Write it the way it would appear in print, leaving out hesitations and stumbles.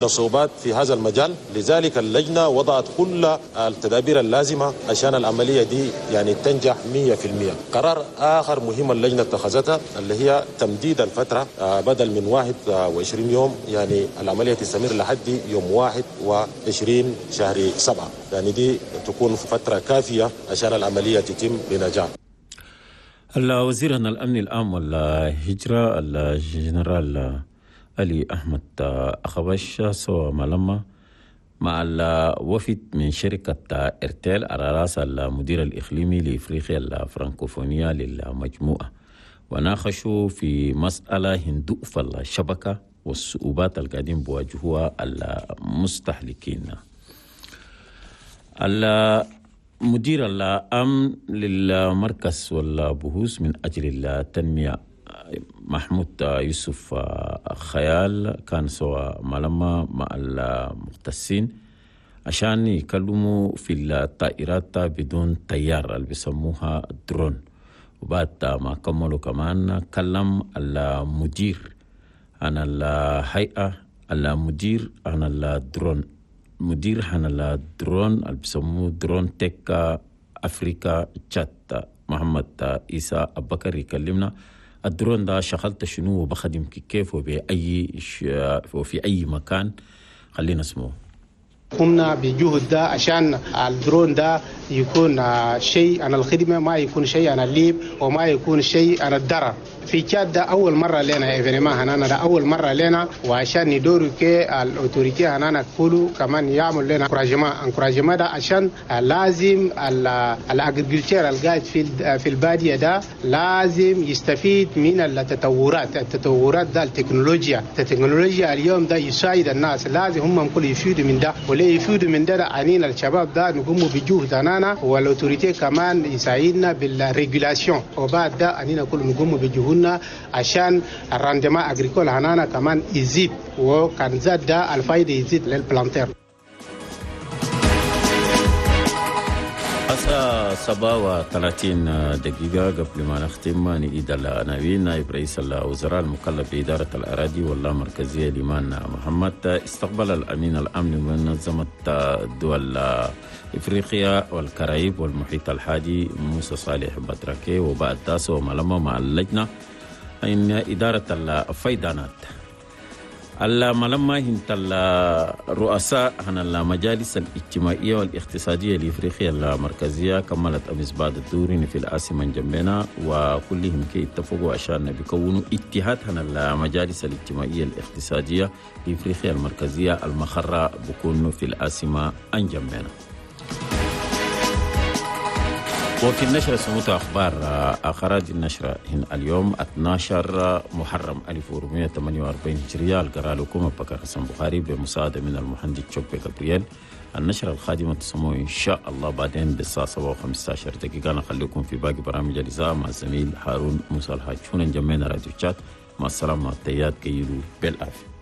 صعوبات في هذا المجال، لذلك اللجنة وضعت كل التدابير اللازمة عشان العملية دي يعني تنجح 100%. قرار آخر مهم اللجنة اتخذتها اللي هي تمديد الفترة بدل من 21 يوم يعني العملية تستمر لحد يوم 21 شهر 7، يعني دي تكون فترة كافية عشان العملية تتم بنجاح. الوزير الأمن العام والهجرة الجنرال علي أحمد أخبش سوى ملما مع الوفد من شركة إرتيل على رأس المدير الإقليمي لإفريقيا الفرنكوفونية للمجموعة، وناقشوا في مسألة هندوف الشبكة والصعوبات القادم بواجهوها المستهلكين. المدير العام للمركز والبحوث من أجل التنمية محمود يوسف خيال كان سوى ملما مع المختصين عشان يكلموا في الطائرات بدون طيار اللي بيسموها درون، وبعد ما كملوا كمان كلم المدير عن الهيئة، المدير عن الدرون، مدير عن الدرون اللي بيسموه Drone Tech Africa تشاد محمد إيسا أبكر يكلمنا الدرون ده شغلت شنو وبخدم كيف وبأي وفي أي مكان. خلينا نسمعه. قمنا بجهد ده عشان الدرون ده يكون شيء عن الخدمة، ما يكون شيء عن الليب وما يكون شيء عن الضرر. في تشاد ده أول مرة لنا événement هنا، ده أول مرة لنا، وعشان ندورو كي ال autorités هنا كله كمان يعمل لنا encouragement ده عشان لازم ال agriculteur القاعد في البادية ده لازم يستفيد من التطورات ده، التكنولوجيا اليوم ده يساعد الناس، لازم هم كل يفيدوا من ده، وليه يفيدوا من ده عنينا الشباب ده نقوم بجهد هنا، وال autorités كمان يساعدنا بال régulation، وبعد ده عنينا كل نقوم بجهودنا عشان ال rendement agricole هنانا كمان يزيد، وكان زاد ده الفايدة يزيد لل planteur. الساعة 37 قبل ما نختم نعيد العناوين. نائب رئيس الوزراء المكلف بإدارة الأراضي واللامركزية ليمان محمد استقبل الأمين العام لمنظمة دول إفريقيا والكاريب والمحيط الحادي موسى صالح بطركي، وبعد تاسو وملما مع اللجنة إن إدارة الفيضانات. الملمة هنت الرؤساء عن المجالس الاجتماعية والاقتصادية لإفريقيا المركزية كملت أمس بعد الدور في العاصمة جنبنا، وكلهم كي اتفقوا عشان بيكونوا اتحاد عن المجالس الاجتماعية الاقتصادية لإفريقيا المركزية المخرة بكون في العاصمة جنبنا. وفي النشرة سموت أخبار أخراج النشرة هنا اليوم 12 محرم 1448 هجرية. القراء لكم بكر حسن بخاري بمساعدة من المهندس شوبي جبريل. النشرة القادمة تسمعوا إن شاء الله بعدين بالساعة 7:15. نخليكم في باقي برامج الإذاعة مع الزميل هارون موسى الحاج. هنا جمعنا راديو تشاد. مع السلامة، تيات كيلو بالعافية.